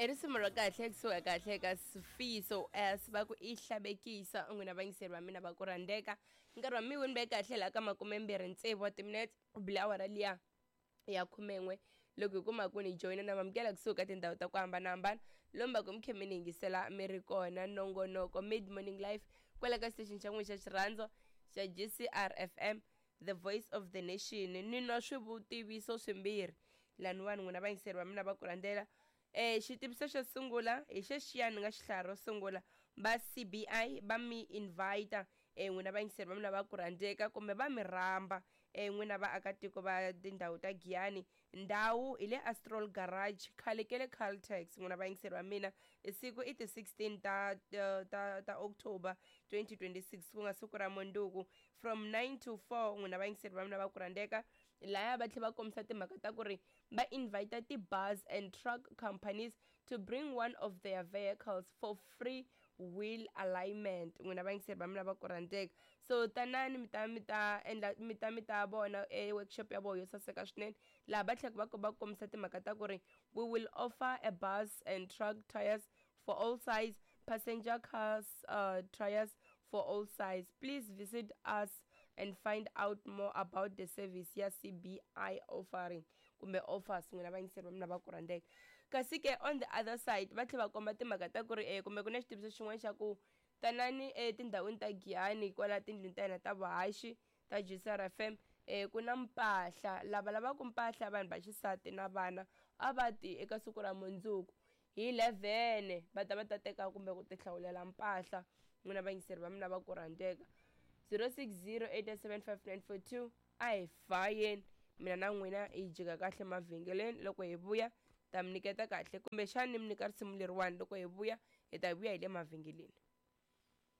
I risimu ra kahle kusuka kahle ka Sifiso S va ku i hlabekisa n'wina vayingiseri va mina va ku rhandzeka nkarhi wa mi wu ni ve kahle laha ka 26 wa timinete ku bile awara liya ya khumen'we loko hi kuma ku ni joyina na mamukela kusuka ka tindhawu ta ku hambanahambana lomu va ku mi khe mi ni yingisela mi ri kona nongonoko mid morning life kwala ka station xa n'wina xa xirhandzo xa GCR FM the voice of the nation ni nwa swivutiviso swimbirhi laniwani n'wina vayingiseri va mina va ku rhandzela Xitiviso xo sungula hi xexiya ni nga xi hlaya ro sungula va C_B_I va mi invite n'wina vayingiseri va mina va ku rhandzeka kumbe va mi rhamba n'wina vaakatiko va tindhawu ta Giyani ndhawu hi le Astrol Garage khale ke le Caltex n'wina vayingiseri va mina siku i ti 16 ta ta ta October 2026 ku nga siku ra mundzuku from 9 to 4 n'wina vayingiseri va mina va ku rhandzeka laya va tlhela va kombisa timhaka ta ku ri va invite ti-bus and truck companies to bring one of their vehicles for free wheel alignment n'wina vayingiseri va mina va ku rhandzeka so tanani mi ta mi ta endla mi ta mi ta vona e workshop ya vona yo saseka swinene laha va tlhela va va kombisa timhaka ta ku ri we will offer a bus and truck tires for all size passenger cars tires for all size please visit us and find out more about the service ya CBI offering kumbe offers n'wina vayingiseri va mina va ku rhandzeka kasi ke on the other side va tlhela va komba timhaka ta ku ri kumbe ku na xitiviso xin'wana xa ku tanani etindhawini ta Giyani kwala tindlwini ta hina ta vuhaxi ta GCR FM ku na mpahla lava lavaka mpahla vanhu va xisati na vana a va ti eka siku ra mundzuku hi 11 va ta va ta teka kumbe ku tihlawulela mpahla n'wina vayingiseri va mina va ku rhandzeka 06087594 a hi fayeni mina na n'wina hi jika kahle mavhengeleni loko hi vuya ta mi nyiketa kahle kumbexani mi nyika risimu leriwani loko hi vuya hi ta vuya hi le mavhengeleni.